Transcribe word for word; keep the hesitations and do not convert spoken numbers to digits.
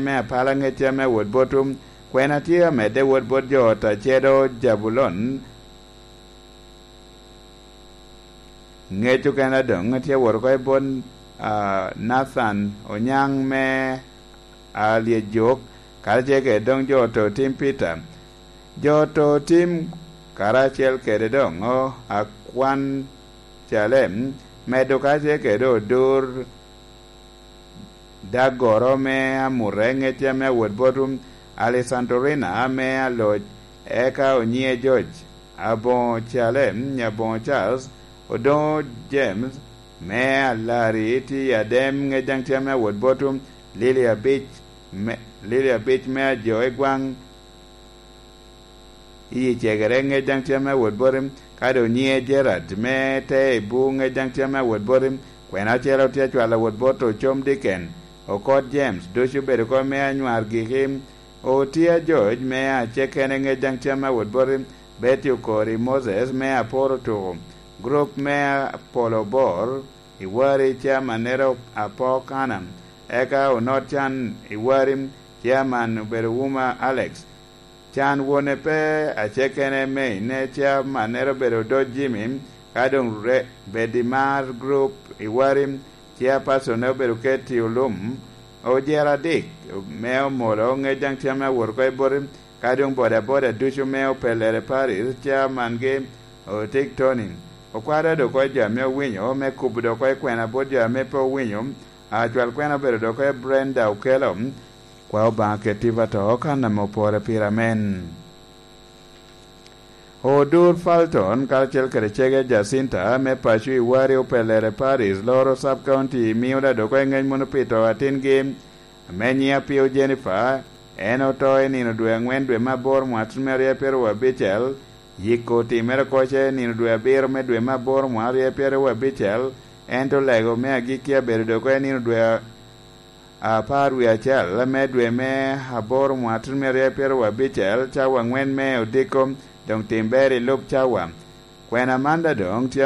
me apala ŋecce ame awot bot Kwena tye amedde wot bot jo ot a cedo Jabulon. Ŋec okene adoŋ tye wot oko i bot Nathan Onyaŋ me Alyejuk, karacel kede doŋ jo oto tim Peter. Jo oto tim karacel kede doŋ akwan Calem medo karacel kede odur daggoro me amute ŋecce ame awot bot Alesantorina ame aloc, eka onyiŋe George, aboŋo Calem, aboŋo Charles, odoŋo James me Alari, tye i Adem ŋec daŋ tye ame awot bot Lili abic me, Lili abic me ajo i gwaŋ i cegere ŋec daŋ tye ame awot bot, ka doŋ nyiŋe Gerard me te i bu ŋec daŋ tye ame awot bot, kwena ocele otye acwalo awot bot ocom diken, okot James, ducu obedo oko me anywar giki, otye ajoc me acekene ŋec daŋ tye ame awot bot, Betty okori Moses me aporo tuko, grup me apolo bor, i wari, chairmannere Apok Anna, eka onot can i wari, chairman obedo Wuma Alex. Can wone pe acekene me ine chairmannere obedo Odoc Jimmy, ka doŋ re-, bedi mar group i wari, chairpersonne obedo Katie Olum. Ojera adik me omolo ŋec daŋ tye ame awot oko i boti, ka doŋ bodaboda ducu me opellere Paris, chairman-gi Otik Tony. Okwado doŋ oko jo ame owinyo, me kubo doŋ oko i kwena bot jo ame pe owinyo, acwal kwena obedo doŋ oko i Brenda Okello. Kwa Obaŋa keti i to kan ame opore pire, amen. Odur Falton karacel kede cege Jacinta me paco i wari opellere Paris, loro sub county, mio da doŋ oko i ŋec mono pito atingi ame nyiŋe Apio Jennifer. En oto i nino dwe aŋwen dwe me aboro mwaka tyen me aryo pyeraryo abicel. Yiko otimere oko ce i nino dwe abiro me dwe me aboro mwaka aryo pyeraryo abicel, ento lego me agikki abedo doŋ oko i nino dwe apar wie acel me dwe me aboro mwaka tyen me aryo pyeraryo abicel, cawa aŋwen me odiko, doŋ tim ber i lub cawa. Kwena man da doŋ tye